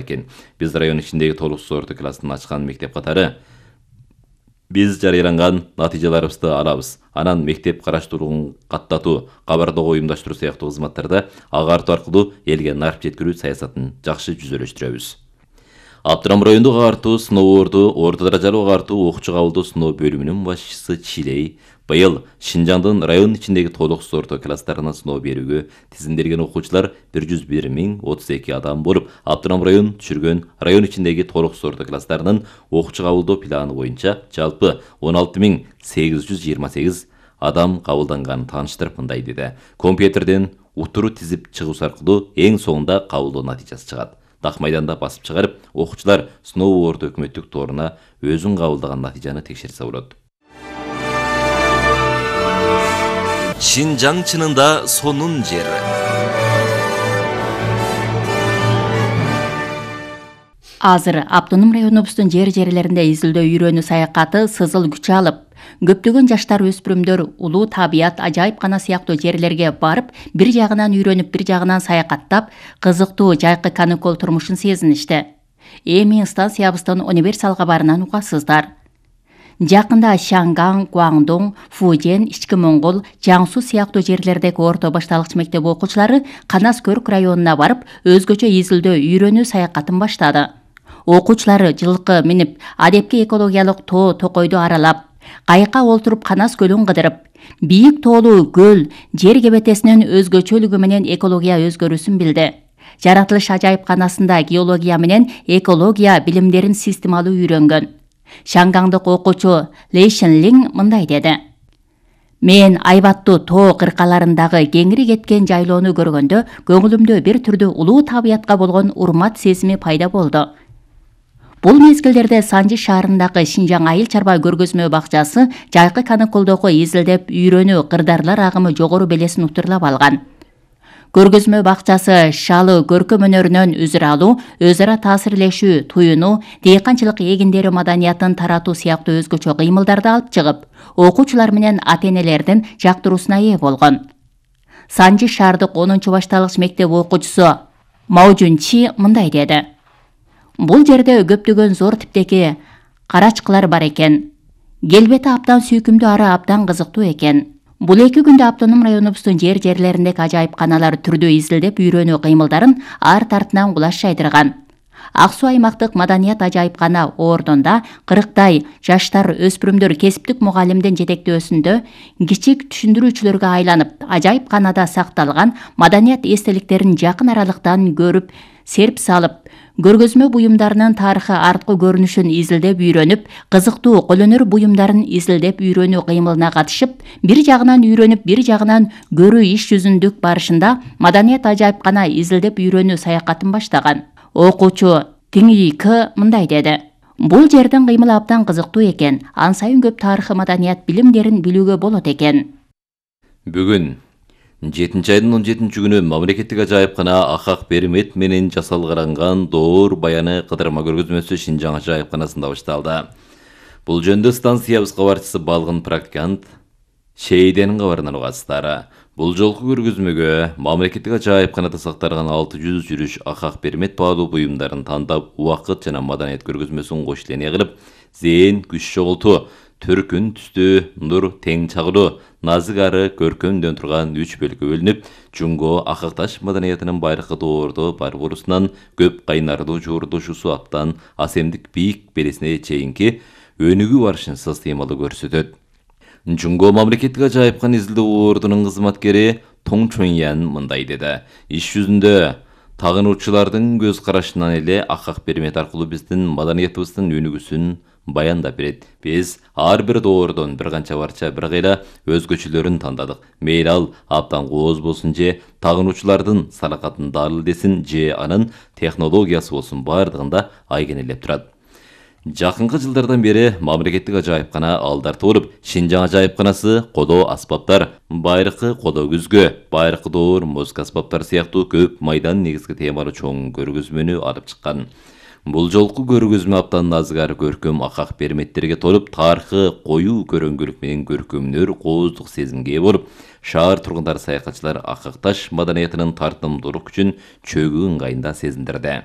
экен. Биз район ичиндеги толуксуз орто классын ачкан мектеп катары биз жарыяланган натыйжаларыбызды алабыз. Анан мектеп караштырууун каттатуу, кабардоо уюмдаштыруу сыяктуу кызматтарда агартуу аркылуу элге нарп жеткирүү саясатын жакшы жүзөлөштүрөбүз. Абдрам райондук агартуу сыноолорду орто даражалуу агартуу окуучу кабылдоо сыноо бөлүмүнүн башчысы Чилей быйыл Шинжаңдын район ичиндеги толуксуз орто класстарына сыноо берүүгө тизимделген окуучулар 101.032 адам болуп, Абдрам район түшүргөн район ичиндеги толуксуз орто класстарынын окуучу кабылдоо планы боюнча жалпы 16.828 адам кабылданганын тааныштырып мындай деди. Компьютерден утуру тизип чыгуусу аркылуу эң соңунда кабылдоо натыйжасы чыгат. Дак майданда басып чыгарып, окуучулар сыноо орто өкмөттүк торуна өзүн кабылдаган натыйжаны текшерсе болот. Шинжаң чынында сонун жер. Азыр автоном районубуздун жерлеринде изилдөө үйрөнүү саякаты сызыл күч алып, көптөгөн жаштар өспүрүмдөр улуу табият ажайыпкана сыяктуу жерлерге барып, бир жагынан үйрөнүп, бир жагынан саякаттап, кызыктуу жайкы каникул турмушун сезиништи. Эми станциябыздын универсал кабарынан угасыздар. Жакында Шанган, Гуаңдоң, Фужен, Ички Моңгол, Жаңсу сыяктуу жерлердеги орто башталгыч мектеп окуучулары Канаскөрк районуна барып, өзгөчө изилдөө үйрөнүү саякатын баштады. Окуучулары жылкы минип, адепки экологиялык тоо токойду аралап, кайыкка олтуруп Канас көлүн кыдырып, бийик тоолуу көл жер кебетесинин өзгөчөлүгү менен экология өзгөрүүсүн билди. Жаратылыш ажайыпканасында геология менен экология билимдерин системалуу үйрөнгөн. Шангаңдык окуучу Лейшенлин мындай деди. Мен айбаттуу тоо кыркаларындагы кеңири кеткен жайлоону көргөндө көңүлүмдө бир түрдүү улуу табиятка болгон урмат сезими пайда болду. Бул мезгилдерде Санжы шаарындагы Шинжаң айыл чарба көргөзмө бакчасы жайкы каникулдогу изилдеп үйрөнүү кырдарлар агымы жогору белесин утурлап алган. Көргөзмө бакчасы шалы көркөм өнөрүнөн үзүр алуу, өз ара таасирлешүү, туюнуу, дыйканчылык эгиндери маданиятын таратуу сыяктуу өзгөчө кыймылдарды алып чыгып, окуучулар менен ата-энелердин жактыруусуна ээ болгон. Санжы шаардык 10-башталгыч мектеп окуучусу Маужунчи мындай деди. Бул жерде көптөгөн зор типтеги карачкылар бар экен. Келбети абдан сүйкүмдүү, ары абдан кызыктуу экен. Бул 2 күндө автоном районубуздун жерлериндеги ажайыпканалар түрдүү изилдеп үйрөнүү кыймылдарын арт-артынан кулаш жайдырган. Ак Суу аймактык маданият ажайыпкана ордунда 40тай жаштар өспүрүмдөр кесиптик мугалимдин жетектөөсүндө кичик түшүндүрүүчүлөргө айланып, ажайыпканада сакталган маданият эстеликтерин жакын аралыктан көрүп, серп салып, көргөзмө буюмдарынын тарыхы арткы көрүнүшүн изилдеп үйрөнүп, кызыктуу колөнөр буюмдарын изилдеп үйрөнүү кыймылына катышып, бир жагынан үйрөнүп, бир жагынан көрүү иш жүзүндүк барышында маданият ажайыпкана изилдеп үйрөнүү саякатын баштаган. Окуучу Тиңик мындай деди. Бул жердин кыймылы абдан кызыктуу экен. Ан сайын көп тарыхы маданият билимдерин билүүгө болот экен. Бүгүн 7-айдын 17-күнү мамлекеттик ажайыпкана Акак Бермет менен жасалган Доор баяны кыдырма көргөзмөсү Шинжаң ажайыпканасында башталды. Бул жөнүндө станциябыз кабарчысы Балгын практикант Шейденин кабарынан угасыздар. Бул жолку көргөзмөгө мамлекеттик ажайыпканада сакталган 600 жүрүш Акак Бермет баалуу буюмдарын тандап, убакыт жана маданият көргөзмөсүн кош илене кылып, зээн күч чогултуу, төркүн түстүү, нур тең чагылуу, назык ары көркөмдөн турган 3 бөлүккө бөлүнүп, Жунго Акакташ маданиятынын байыркы доордо Барбарусунан көп кайнардуу жуурдушуусу аптан асемдик бийик белесине чейинки өнүгүү барышын системалуу көрсөтөт. Жунго мамлекеттик ажайыпкан изилдөө ордунун кызматкери Тоң Чоньян мындай деди. Иш жүзүндө тагынуучулардын көз карашынан эле Акак Бермет аркылуу биздин маданиятыбыздын өнүгүүсүн баяндап берет. Биз ар бир доордон бир канча барча бир кыйла өзгөчөлөрүн тандадык. Мейли ал абдан кооз болсун же тагынуучулардын салакатын дал десин же анын технологиясы болсун, бардыгында айгинелеп турат. Жакынкы жылдардан бери мамлекеттик ажайыпкана алдарты болуп, Шинжаң ажайыпканасы коло аспаптар, байыркы коло күзгө, байыркы доор музыка аспаптары сыяктуу көп майдан негизги темалуу чоң көргөзмөнү алып чыккан. Бул жолку көргөзмө аптанын назыгар көркөм Акак Берметтерге толуп, тарыхы коюу көрөңгүлүк менен көркөмдөр кооздук сезимге ээ болуп, шаар тургундары, саякатчылар Акакташ маданиятынын тартымдуулук күчүн чөгүү ыңгайында сезиндирди.